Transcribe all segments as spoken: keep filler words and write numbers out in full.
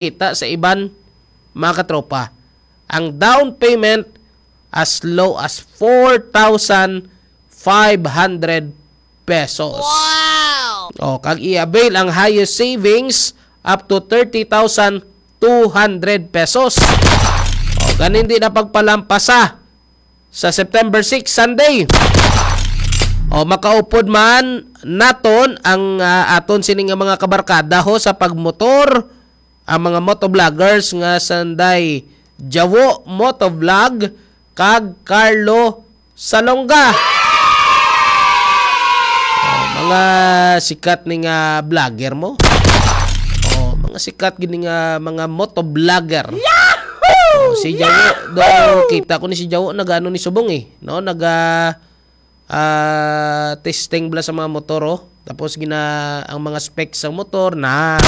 kita sa iban, mga katropa. Ang down payment as low as four thousand five hundred pesos. Wow! O, kag i-avail ang highest savings up to thirty thousand two hundred pesos. O, ganin di na pagpalampasa sa September six, Sunday. O, makaupod man naton ang, ah, aton sini nga mga kabarkada ho sa pagmotor, ang mga motovloggers nga sanday Jawo Motovlog kag Carlo Salonga. O, mga sikat ni nga vlogger mo. O, mga sikat gini nga mga motovlogger. O, si Jawo, do, kita ko ni si Jawo, nag-ano ni subong eh, no? Naga, ah, testing bala sa mga motor, oh. Tapos gina, ang mga specs sang motor na.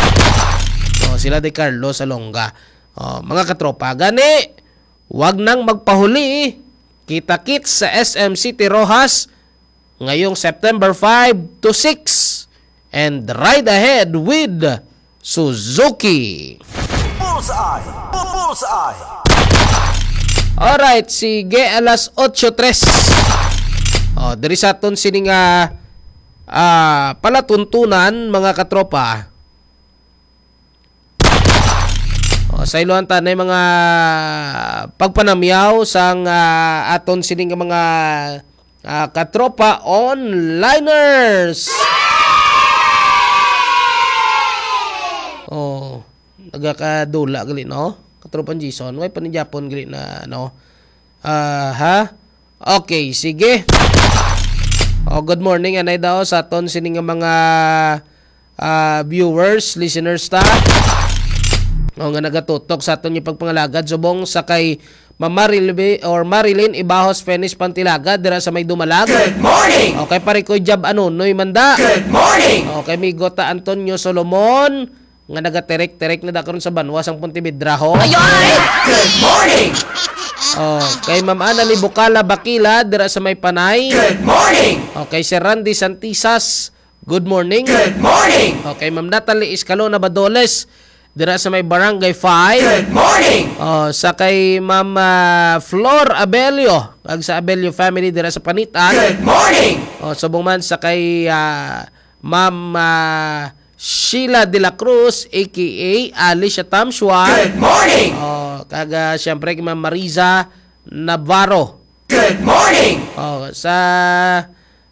O, sila di Carlo Salonga. O, mga katropa, gani, wag nang magpahuli. Kita-kits sa S M City Roxas ngayong September five to six. And ride ahead with Suzuki. Bullseye! Bu-, Bullseye! Alright, sige, alas otso tres. O, diri sa aton sini nga, ah, palatuntunan, mga katropa. O, sa iluhan ta na mga pagpanamyaw sang, ah, aton sini nga mga, ah, katropa onliners. O, nagakadula gali, no? Katropang Jason, way pa ni Japon gali na, no? Ah, ha? Okay, sige. O, good morning, anay daw sa aton sini nga mga, ah, viewers, listeners ta. O, nga nagatutok sa aton nga pagpangalagad subong sa kay Ma'am Marilbe-, or Marilyn Ibahos Fenish Pantilaga dira sa may Dumalag. Good morning! O, kay pare ko Jab Anunoy Manda. Good morning! O, kay Migo ta Antonio Solomon, nga nagaterek-terek na da karon sa banwa sang Pontevedra, ho. Ay, ay! Good morning! O, kay Ma'am Annalie Bukala Bakila dira sa may Panay. Good morning! O, kay Sir Randy Santisas, good morning. Good morning! O, kay Ma'am Natalie Escalona Badoles dira sa may Barangay five. Good morning! O, sa kay Ma'am, ah, Flor Abelio, ag sa Abelio family dira sa Panitan. Good morning! O, subong man sa kay, ah, Ma'am, ah, Sheila de la Cruz, A K A Alicia Tamshua. Good morning! O, kag, ah, siyempre kay Ma'am Mariza Navarro. Good morning! O, sa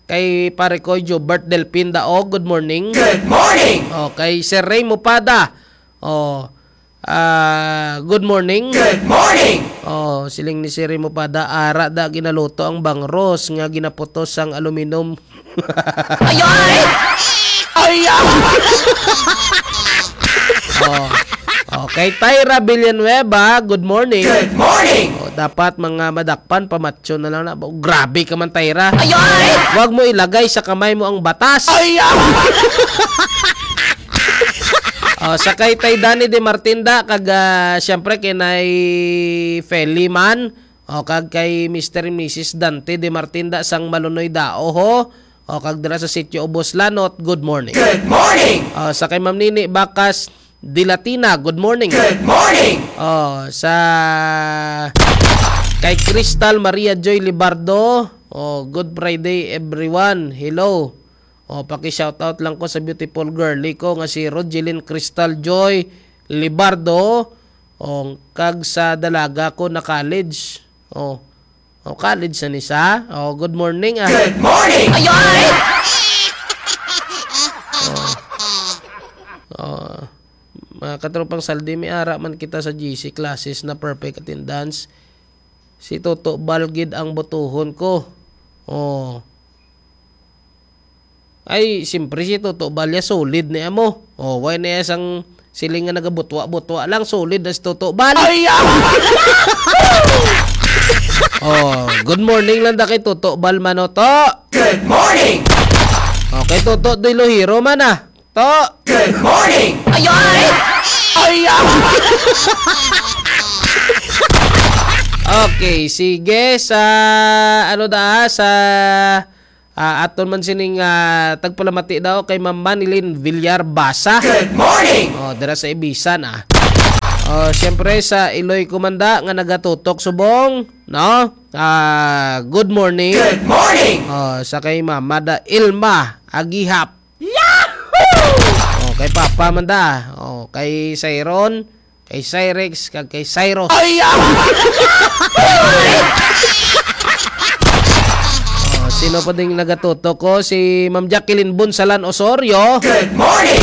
kay pare ko Jobert Delpin Daog, good morning. Good morning! O, kay Sir Ray Mupada. O, ah, good morning. Good morning! O, siling ni Sir Ray Mupada, ara da ginaluto ang bangros nga ginaputos sang aluminum. Ay, ay! Ay, ay! O. Okay, Tyra Villanueva, good morning. Good morning! O, dapat mga madakpan, pamatyo na lang na. O, grabe ka man, Tyra. Ay, ay! Wag mo ilagay sa kamay mo ang batas. Ay, ay! O, sa kay Tay Danny De Martinda, kag, ah, siyempre kay Nay Feli man. O, kag kay Mister and Missus Dante De Martinda sang Malunoy Dao, ho. O, kag dira sa Sitio Ubos Lanot, good morning. Good morning! O, sa kay Ma'am Nini Bacas de Latina, good morning. Good morning! O, sa kay Crystal Maria Joy Libardo, o, good Friday, everyone. Hello. O, paki-shoutout lang ko sa beautiful girly ko nga si Rogeline Crystal Joy Libardo. O, kag sa dalaga ko na college. O, o, college na ni sa. O, good morning, ah. Good morning! Ay, ay! O. O, mga katropang Saldi, may ara man kita sa G C classes na perfect attendance. Si Toto Bal gid ang botohon ko. O. Ay, siyempre si Toto Bal ya solid ni amo. O, way na ya sang siling nga nagabutwa-butwa lang, solid na si Toto Bal. Ay, ah! O, good morning lang da kay Toto Bal man, o, To. Good morning! O, kay Toto Dilohiro man, ah. To. Good morning! Ay, ay! Ay, ah! Okay, sige, sa, ano da, sa, ah, aton man sining, ah, tagpalamati daw kay Ma'am Manilyn Villar Basa. Good morning! O, dira sa Ibisan, ah. Oh, siyempre sa iloy ko man da nga nagatutok subong, no? Ah, good morning. Good morning. Oh, sa kay Mama da Ilma Agihap. Yahoo! Oh, kay Papa man da. Oh, kay Cyron, kay Cyrex, kag kay Cyrus. Ay, ah! Oh, sino pa ding nagatutok ko? Si Ma'am Jacqueline Bunsalan Osorio. Good morning!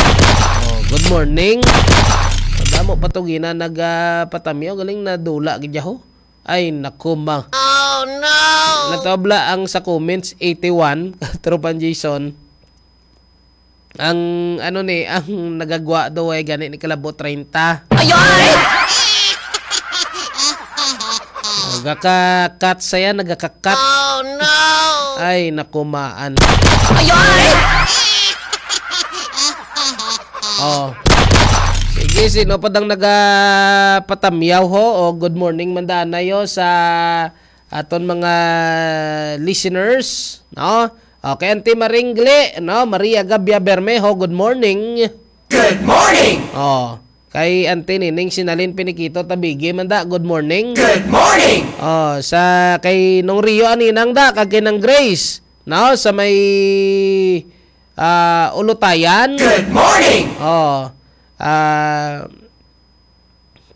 Oh, good morning. Madamo pa to gina nagpatamyaw. Galing na dula gid ho. Ay, naku, ma. Oh, no! Natabla ang sa comments, eighty-one, Tropang Jason. Ang, ano ni, ang nagagwa daw ay gani ni kalabo treinta. Ay, ay! Oh, gaka-cut saya, nagaka-cut. Oh, no! Ay, nakumaan. Ay, ay! Oh. Sige, sino pa dang nagapatamyaw ho? O, good morning, man da, anayo sa aton mga listeners, no? Okay, Auntie Maringli, no? Maria Gabia Bermejo, good morning. Good morning! Oh, kay Auntie Nining Sinalin Pinikito Tabigi man da, good morning. Good morning! Oh, sa kay Nong Rio Aninang da, kag kay Nang Grace, no? Sa may, ah, Ulutayan. Good morning! Oh, ah,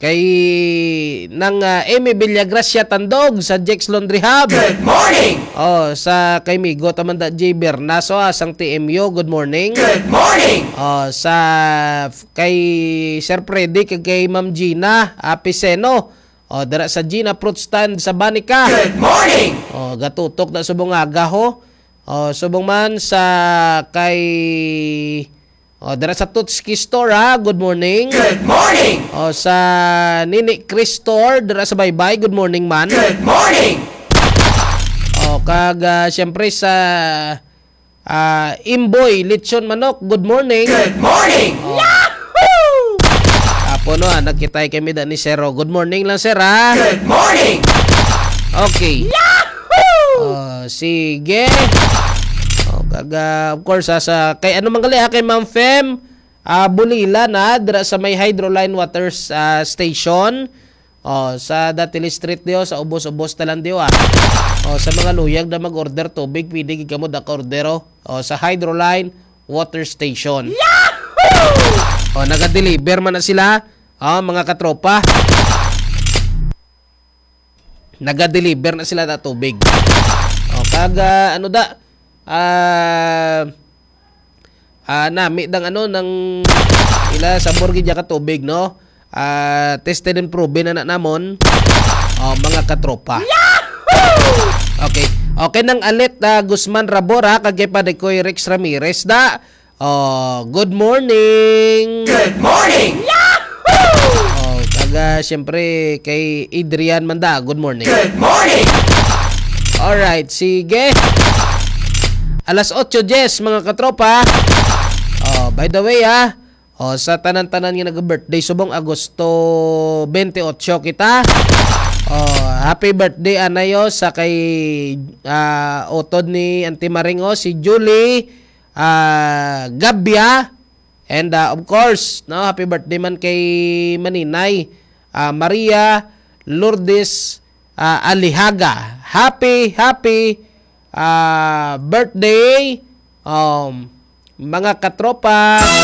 kay Nang, ah, Amy Villagracia Tandog sa Jex Laundry Hub. Good morning! Oh, sa kay Migo Tamanda J Bernaso, ah, sang T M U, good morning. Good morning! Oh, sa f-, kay Sir Freddy, kag kay Ma'am Gina, ah, Piseno. Oh, dira sa Gina Fruit Stand sa Banica. Good morning! Oh, gatutok na subong aga ho. Oh, subong man sa kay, oh, dira sa Tutski Store, ha. Good morning. Good morning! Oh, sa Nini Chris Store, dira sa Baybay. Good morning, man. Good morning! Oh, kag, ah, siyempre sa, ah, Imboy Lechon Manok. Good morning! Good morning! Oh. Yahoo! Apo, no, ah, nagkitay kami da ni Sir, oh. Good morning lang, sir, ha? Good morning! Okay. Yahoo! Oh, sige. Oh, kag, ah, of course, ah, sa, kay ano man gali, ah, kay Ma'am Fem, ah, Bulila na, dira sa may Hydroline Waters, ah, Station. Oh, sa Datiles Street diyo, sa ubos-ubos talan diyo, ah. Oh, sa mga luyag na mag-order tubig, pwede gid kamo da ka-order, oh. Oh, sa Hydroline Water Station. Yahoo! Oh, naga-deliver man na sila, oh, mga katropa. Naga-deliver na sila na tubig. Oh, kag, ah, ano da? Ah, ah, nami dang ano, nang ila sabor gid ya ka tubig, no? Ah, tested and proven na, na namon. Oh, mga katropa. Yahoo! Okay. Okay, Nang Alet, ah, Guzman Rabora, kag kay Padekoy Rex Ramirez, da. Oh, good morning. Good morning! Yahoo! Oh, kag, ah, siyempre, kay Adrian Manda, good morning. Good morning! Alright, sige. Alas otso dies, mga katropa. Oh, by the way, ah, oh, sa tanan-tanan nga nag-birthday subong Agosto twenty-eight kita. Oh, happy birthday, anayo, sa kay, ah, utod ni Auntie Maring, oh, si Julie, ah, Gabia. And, ah, of course, no, happy birthday man kay Maninay, ah, Maria Lourdes, ah, Alihaga. Happy, happy, ah, birthday, um, mga katropa.